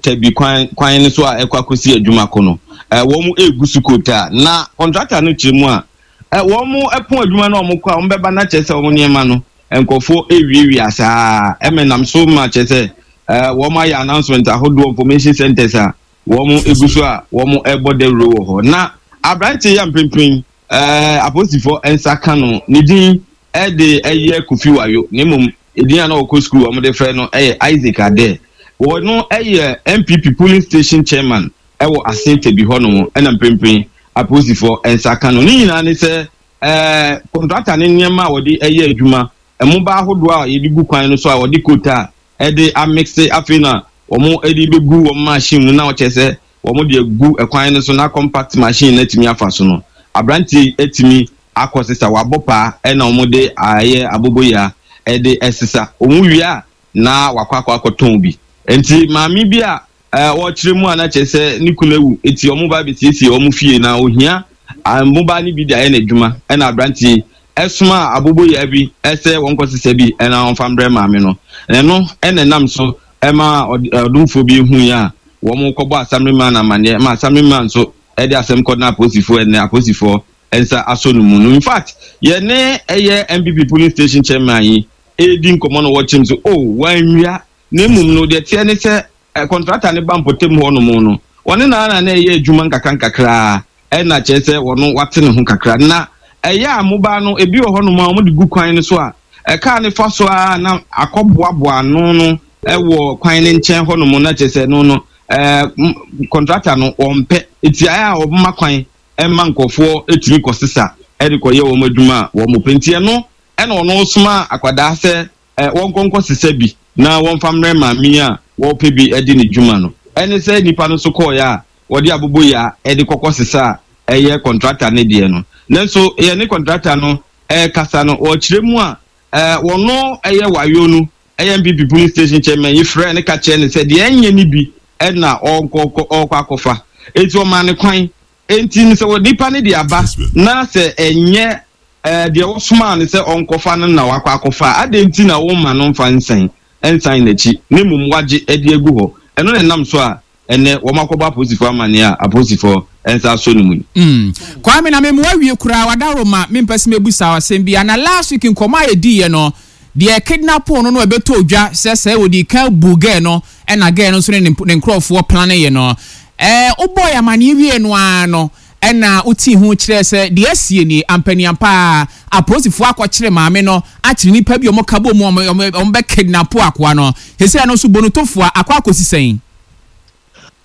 Tabi kwan kwan no so a ɛkɔ akɔsi adwuma ko no, ɛɛ wɔn egu so kota. Na contractor no kyerɛ mu a, ɛ wɔn ɛpɔn adwuma no a, wɔn kɔ a wɔn bɛba na kyerɛ sɛ wɔn nneɛma no nkurɔfoɔ ewiawia saa. Ɛmɛ nam so ma kyerɛ sɛ ɛɛ wɔn ayɛ announcement ahodoɔ, information centers a wɔn egu so a wɔn ɛbɔ dawuro wɔ hɔ. Na aberanteɛ yi a mpempem ɛɛ apolisifoɔ nsa ka no, ne din ɛde ɛyɛ Kofi Wayo, na mmom edin a na ɔkɔ sukuu wɔn de frɛ no ɛyɛ Isaac Ade. Wɔn no ɛyɛ N P P polling station chairman ɛwɔ Asen Tabi hɔnom. Ɛna mpempem apolisifoɔ nsa ka no. Ne nyinaa ne sɛ ɛɛ kɔntrata ne nneɛma a wɔde ɛyɛ adwuma, mmoba ahodoɔ a yɛde gu kwan no so a wɔde kota a ɛde amixe, afei na wɔn de bɛgu wɔn machine mu na wɔkyerɛ sɛ wɔn de agu ɛkwan no so na compact machine no atumi afa so no, aberanteɛ atumi akɔ sesa wabɔ paa, ɛna wɔn de ayɛ aboboyaa ɛde ɛsesa. Wɔn wie a, na wakɔ akɔ akɔtɔn bi. Nti maame bi a ɛɛ wɔkyerɛ mu a na kyerɛ sɛ ne kunu awu, eti wɔn ba abɛsiesie wɔn fie na ohia mmoba no bi de ayɛ n'adwuma, ɛna aberanteɛ ɛsoma aboboyaa bi ɛsɛ wɔn kɔ sesa bi ɛna wɔn fa mbrɛ maame no. Ɛno ɛna ɛnam so ɛma ɔdomfoɔ bi ehu yi a wɔn kɔbɔ assemblyman amaneɛ, ma assemblyman nso ɛde asɛm kɔ na apolisifoɔ, ɛnɛ apolisifoɔ nsa asɔ no mu no. In fact, yɛne ɛyɛ N P P polling station chairman yi edi nkɔmɔ no, wɔkyerɛ mu so o wɔanwia, na emum no deɛ teɛ ne sɛ ɛ contractor ne ba mpɔtam hɔ nom no, wɔne naa na ɛyɛ adwuma nkakra nkakraa, ɛna kyerɛ sɛ wɔn wate ne ho kakra na ɛyɛ a mobaa no ebi wɔ hɔnom a wɔde gu kwan no so a ɛkaa ne fa so a na akɔboaboa ano no ɛwɔ kwan ne nkyɛn hɔnom, na kyerɛ sɛ no no ɛɛ contractor no wɔmpɛ, eti ayɛ a wɔma kwan ɛma nkɔfoɔ etumi kɔsesa ɛde kɔyɛ wɔn adwuma a wɔn pɛ. Nti ɛno ɛna ɔno soma akwadaa sɛ ɛ wɔn nkɔnkɔ sesa bi na wɔmfa mmerɛ maame a wɔpɛ bi ɛde ne dwuma no. Ɛne sɛ nipa no nso kɔɔeɛ a wɔde aboboyaa ɛde kɔkɔ sesa a ɛyɛ contractor ne deɛ no. Nanso yɛne contractor no ɛɛkasa no, wɔkyerɛ mu a ɛɛ wɔno ɛyɛ wayo no, ɛyɛ N P P polling station chairman yi frɛ ne ka kyerɛ ne sɛ deɛ ɛnyɛ ne bi ɛna ɔnkɔ ɔkɔ akɔfa, eti ɔmaa ne kwan. Enti sɛ wɔ nipa ne de aba na sɛ ɛnyɛ ɛɛ deɛ wɔsomaa ne sɛ ɔnkɔfa no na wakɔ akɔfa ade, nti na wɔma no mfa nsan nsan n'akyi, ne mmom wagye ɛde agu hɔ. Ɛno na ɛnam so a ɛnɛ wɔn akɔbɔ apolisifoɔ amaneɛ a apolisifoɔ nsa asɔ ne mu yi. Mm. Kwame, na memu awie koraa, wadaro ma mempɛ sɛ mebusa asɛm bi ana. Last week nkɔmmɔ a yɛdiiɛ no deɛ, kidnap no no ɛbɛtɔ odwa sɛ sɛ wɔdi kan bu girl no, ɛna girl no nso ne ne nkurɔfoɔ plan yɛ no, ɛɛ wobɔ yɛ amaneɛ wie no ara no, ɛna wotii ho kyerɛ sɛ deɛ asie nie ampaniampa a apolisifoɔ akɔkyere maame no, akyere nipa bi a ɔmo ka bɔ mu, ɔmo ɔmo bɛ kidnap akoa no. Sɛsɛ no nso bonotofoɔ akɔ akɔsi sɛn?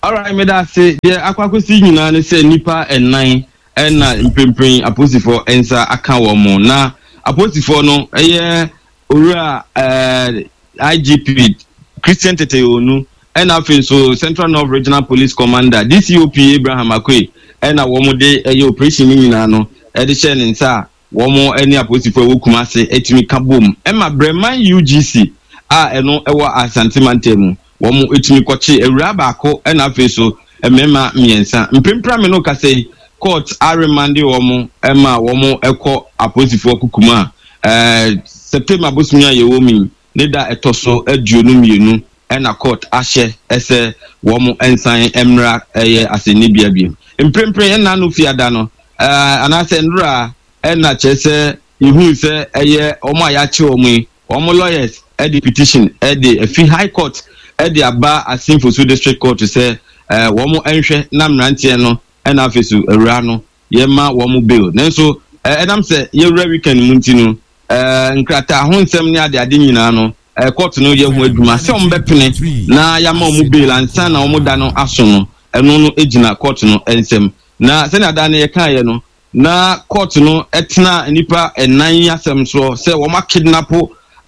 Alright, meda ase. Deɛ akɔ akɔsi nyinaa ne sɛ nipa ɛnan ɛna mprempren apolisifoɔ nsa aka wɔn mo, na apolisifoɔ no ɛyɛ owura ɛɛ I G P Christian Tetteh Yohuno, ɛna afei nso Central North Regional Police Commander D C O P Abraham Akoe, ɛna wɔn de ɛyɛ operation no nyinaa no ɛde hyɛ ne nsa a wɔn ne apolisifoɔ ɛwɔ Kumase ɛtumi ka bom ɛma Brɛman U G C a ɛno ɛwɔ Asante mantam mu, wɔn etumi kɔkye awura baako, ɛna afei so mmarima mmiɛnsa. Mprempren mi no kasa yi, court aremande wɔn ɛma wɔn ɛkɔ apolisifoɔ kukum a ɛɛ September bosomi a yɛwɔ mu yi ne da ɛtɔ so aduonu mmienu, ɛna court ahyɛ ɛsɛ wɔn nsan mmra ɛyɛ asɛnnibea biem. Mprempren ɛna no fiada no ɛɛ anaasɛ nwura, ɛna kyerɛ sɛ ihu sɛ ɛyɛ wɔn a yɛakye wɔn yi, wɔn lawyers ɛde petition ɛde efi High Court ɛde aba Assin Fosu District Court sɛ ɛɛ wɔn nhwɛ na mmeranteɛ no ɛna afei so awura no yɛma wɔn bail. Nanso ɛɛ ɛnam sɛ yɛwura weekend mu nti no, ɛɛ nkrataa ho nsɛm ne adeade nyinaa no, ɛɛ court no yɛ ho adwuma sɛ wɔn bɛpene na yɛama wɔn bail ansa na wɔn da no aso no. Ɛno no gyina court no nsɛm, na sɛnea da no yɛkaeɛ no, na court no ɛtena nipa ɛnan asɛm soɔ sɛ wɔn akidnap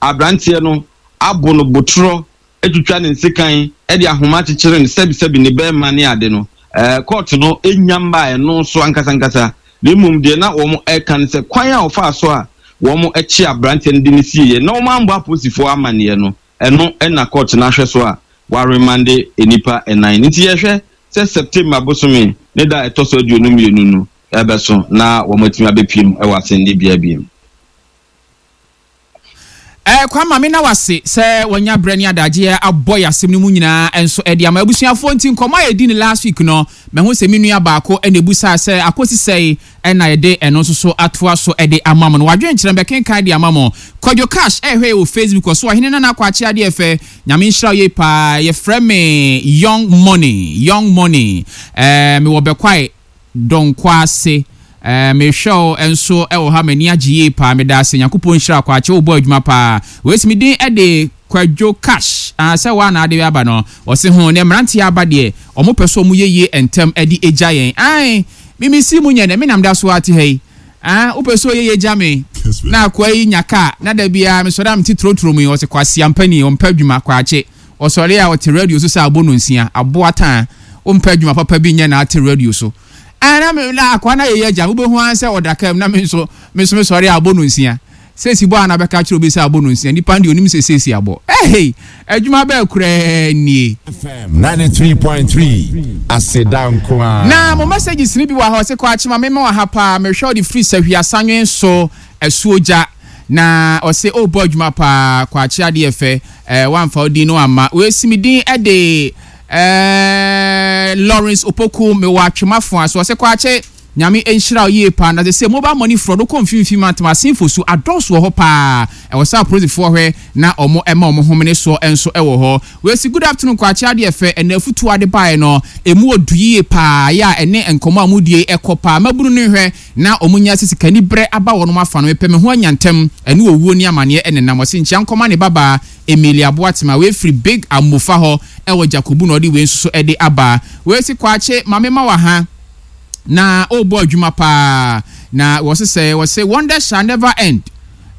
aberanteɛ no, abo no botorɔ, atwitwa ne nsekan, ɛde ahoma akyekyere no sɛbisɛbi ne bɛrima ne ade no. ɛɛ court no enya mba ɛno so ankasa ankasa, na mmom deɛ na wɔn ɛka no sɛ kwan a wɔfa so a wɔn akyi aberanteɛ no de ne sie yɛ na wɔn ambɔ apolisifoɔ amaneɛ no, ɛno ɛna court no ahwɛ so a wɔaremande nipa ɛnan. Nti yɛhwɛ sɛ September bosome ne da ɛtɔ so aduonu mmienu no ɛbɛso na wɔn atumi abɛpiem ɛwɔ asɛnnibea biem. Ɛɛ kwama me na wase sɛ wɔnya berɛ ne adagyeɛ abɔ yɛ asɛm no mu nyinaa nso ɛde ama abusuafoɔ. Nti nkɔmmɔ a yɛdi ne last week no, mahu sɛ me nua baako ɛna ebusaa sɛ akɔsi sɛe, ɛna yɛde ɛno nso so atoa so ɛde ama mo no. Wadwenkyerɛ mbɛkenkan de ama mo. Kwadwo Cash ɛhwɛ yɛ wɔ Facebook ɔso. Ɔhene Nana Akɔ adeɛ fɛ, Nyame nhyira wo yie paa. Yɛfrɛ me Young Money, Young Money, ɛɛ mewɔ Bɛkwae Dɔnkɔ ase. ɛɛ mehwɛ wo nso ɛwɔ ha, m'ani agye yie paa. Meda ase, Nyankopɔn nhyira. Akɔ wobɔ adwuma paa. Wei mi din ɛde Kwadwo Cash ah, sɛ waa na ade aba no, ɔse ho ne mmeranteɛ aba deɛ, ɔmo pɛ so ɔmo yɛ yie ntɛm ɛde agya yɛn. Ae, mimi si mu nyɛ dɛ, menam da so ate ha yi. Ah, wopɛ sɛ ɔyɛ yɛ gya me na akoa yi nya kaa na da biara mesɔre a mete torotoro mu yi. Ɔsɛ kwasi ampani, ɔmpɛ adwuma. Kwakye ɔsɔre a ɔte radio so sɛ abɔ no nsia aboa taa. Wompɛ adwuma papa bi nyɛ na ate radio so. Ah, na me na akoa na yɛyɛ agya, wobɛhu ara sɛ ɔda kaa mu na me nso me nso mesɔre a abɔ no nsia. Seesi bɔ a na bɛka kyerɛ obi sɛ abɔ no nsia, nipa deɛ onim sɛ seesi abɔ. Ɛhei, adwuma bɛɛ koraa nie. F M ninety-three point three, Aseda nko ara. Na mo messages ni bi wɔ ha. Ɔsɛ kɔ akyema mema wɔ ha paa, mehwɛ ɔde firi Sahwi Asanwen so asuo gya na ɔsɛ ɔrebɔ adwuma paa. Kɔ akye adeɛ fɛ ɛɛ wamfa ɔdin no amma. Wɔasi mi din ɛde ɛɛ Lawrence Opoku, mewɔ Atwemafoa so. Ɔsɛ kɔ akye, Nyame nhyira wo yie paa. Na sɛ sɛ mobile money fraud wokɔ mfimfini mantam asenfo so adɔɔso wɔ hɔ paa, ɛwɔ sɛ apolisifoɔ hwɛ na ɔmo ɛma ɔmo homene soɔ nso ɛwɔ hɔ. Wɔasi good afternoon Kwakye adeɛ fɛ, ɛna afutuo ade baeɛ no emu odu yie paa yɛ a ɛne nkɔmɔ a mudie ɛkɔ paa. Mabunu no hwɛ na ɔmo nya sɛ sikani brɛ aba wɔn afa no, mepɛ me ho anya ntɛm, ɛne owuo ne amaneɛ ɛnenam. Ɔse nkyia nkɔma ne babaa Emilia Boatema, wefiri Big Amofa hɔ ɛwɔ Jakobu na ɔde wei nso so ɛde aba. Wɔasi Kwakye maame ma wɔ ha na ɔrebɔ adwuma paa na wɔse sɛ wɔse wonder shall never end.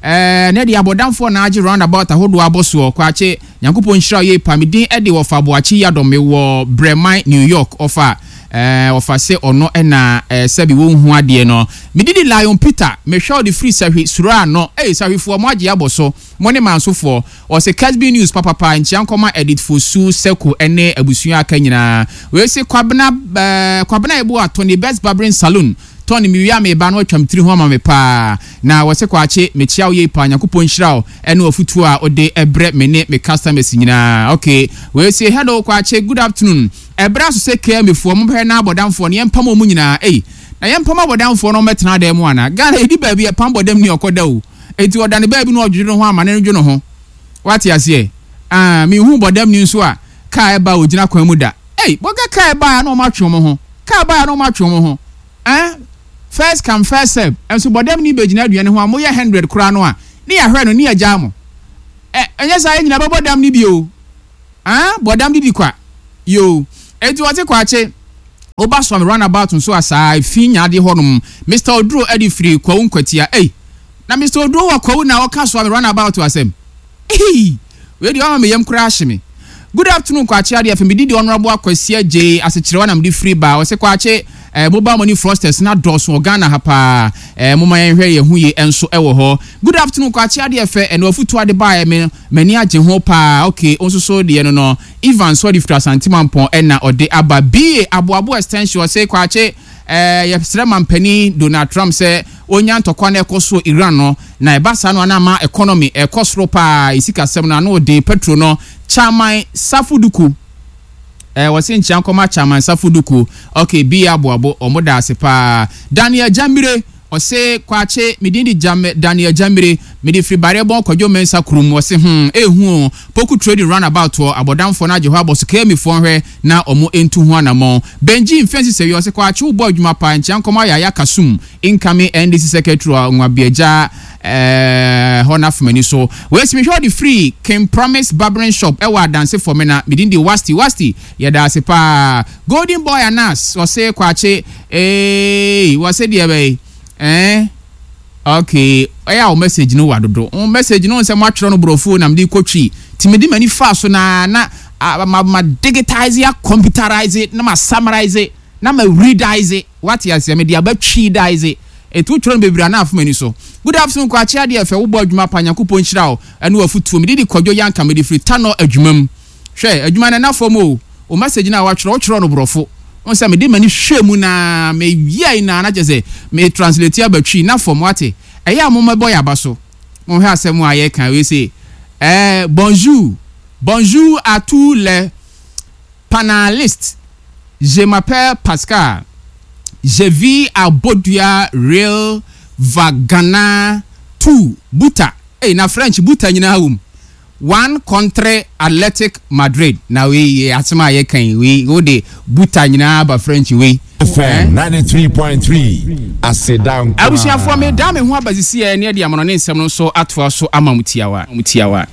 Ɛɛ ne de abɔdamfoɔ na agye roundabout ahodoɔ abɔ soɔ. Kwakye, Nyankopɔn nhyira yie pa. Me din ɛde wɔfa Aboakye Yadɔm, mewɔ Brɛman, New York. Ɔfa ɛɛ ɔfa sɛ ɔno ɛna ɛɛ sɛbi wɔnhu adeɛ no. Medidi Lion Peter, mehwɛ ɔde firi Sahwi suro ano. Ɛyɛ Sahwifoɔ mo agye abɔ so, mo ne mansofoɔ. Ɔsɛ Casby News papapa, nkyia nkɔma Edit Fosu Sɛko ɛne abusua aka nyinaa. Wei Kwabena ɛɛ Kwabena Ebo atɔ ne Best Barbering Saloon tɔn mi wia mi ba no atwam tiri ho ama me paa. Na wɔsɛ Kwakye, mekyia wo yie paa, Nyankopɔn nhyira wo ɛne afutuo a wode ɛbrɛ me ne me customers nyinaa. Okay, wei sɛ hello Kwakye, good afternoon. Ɛbrɛ aso sɛ K M A foɔ mo bɛhwɛ na abɔdamfoɔ no yɛmpam wɔn nyinaa. Ei, na yɛmpam abɔdamfoɔ no ɔmɛtena dan mu ana? Ghana yɛdi baabi ɛpam bɔdam ni ɔkɔ da o, eti ɔda ne baabi na ɔdwodwo ne ho ama ne dwo ne ho. Wate aseɛ? Aa, mihu bɔdam ni nso a kaa ɛba a ogyina kwan mu da. Ei, bɔgɛ kaa ɛba a na ɔmo atwe wɔn ho, kaa ɛba a na ɔmo atwe wɔn ho. Ɛn first come first serve nso bɔdam ni bɛgyina aduane ho a moyɛ hundred koraa no a ne yɛahwɛ no ne yɛgyaa mo. Ɛ ɛnyɛ saa, yɛn nyinaa bɛbɔ dam ni bi o. Aa, bɔdam didi kwa yoo. Eti wɔte Kwakye woba Sɔmi roundabout nso a saa efi nyaade hɔnom. Mister Oduro ɛde firi Kwawu Nkwatia. Ei, na Mister Oduro wɔ Kwawu na ɔka Sɔmi roundabout asɛm. Ei, wei deɛ ɔma me yam koraa ahye me. Good afternoon Kwakye adeɛ afɛ, medi deɛ Honourable Akwasi Agye asekyerɛwa na mede firi ba. Ɔsɛ Kwakye, eh, mobile money fraudsters na dɔɔso wɔ Ghana ha paa. eh, moma yɛnhwɛ yɛn ho yie nso ɛwɔ hɔ. Good afternoon Kwakye adeɛ fɛ, ɛna afutuo ade baeɛ me m'ani agye ho paa. Okay, nso so deɛ no no Ivan so ɔde firi Asantemampɔn ɛna ɔde aba ba Aboabo Extension. Ɔsɛ Kwakye, eh, yɛsrɛ mampanin Donald Trump sɛ onya ntɔkwa no ɛkɔ so Iran no na ɛba saa no ana ama economy ɛkɔ soro paa, esikasɛm no ano den, petrol no. Chairman Safuduku, ɛɛ wɔsi nkyɛn nkɔma Chairman Safuduku. Okay, bi Aboabo, ɔmo da ase paa. Daniel Jamire ɔse Kwakye, medin di Jam Daniel Jamire, mede firi Barebɔn Kwadwo Mɛnsa kurom. Ɔse hmm ehu o, Poku Trading roundabout hɔ abɔdamfoɔ no agye hɔ abɔ so. Kemifoɔ hwɛ na ɔmo ntu ho anammɔn. Benji Mfɛnsi sɛ wi, ɔse Kwakye, wobɔ adwuma paa, nkyɛn nkɔma Yaya Kasum, incoming N D C secretary wɔ Nwabiagya ɛɛ hɔ n'afomani so. Wɔasi mehwɛ ɔde firi King Promise Barbering Shop ɛwɔ Adanse Fɔmina. Medin di Wasti Wasti, yɛda ase paa. Golden Boy Anas ɔse Kwakye, ee, wɔse deɛ bɛyi ɛɛ okay, ɛyɛ a wo message no wa dodo. Wo message no nsɛ mo atwerɛ no borɔfo na mede kɔtwi nti mede m'ani fa so na na ma ma digitize a computerize na ma summarize na ma readize. Wate aseɛ? Mede aba twidize etu twerɛ no bebree ana afom ani so. Good afternoon Kwakye adeɛ fɛ, wobɔ adwuma pa, Nyankopɔn nhyira wo ɛne wafutuo. Mede di Kwadwo Yanka, mede firi Tanɔ adwuma mu. Hwɛ adwuma no ɛna fam o. O message no a watwerɛ, wotwerɛ no borɔfo wɔn sɛ mede m'ani hwɛ mu na meyia na na kyerɛ sɛ me translate abatwi na fam. Wate? Ɛyɛ a mommɛbɔ yɛ aba so, monhwɛ asɛm a yɛka wei sɛ ɛɛ bonjour, bonjour à tous les panélistes, je m'appelle Pascal, je vis à Bodua Real Vagana two Buta. Ei, na French buta nyinaa wɔ mu. One contre Athletic Madrid. Na wei asɛm a yɛka yi, wei wode buta nyinaa ba French wei. F M ninety-three point three, Aseda nko ara. Abusuafoɔ, me da me ho aba sisi ɛ ne ɛde amono ne nsɛm no nso atoa so ama mu tiawa mu tiawa.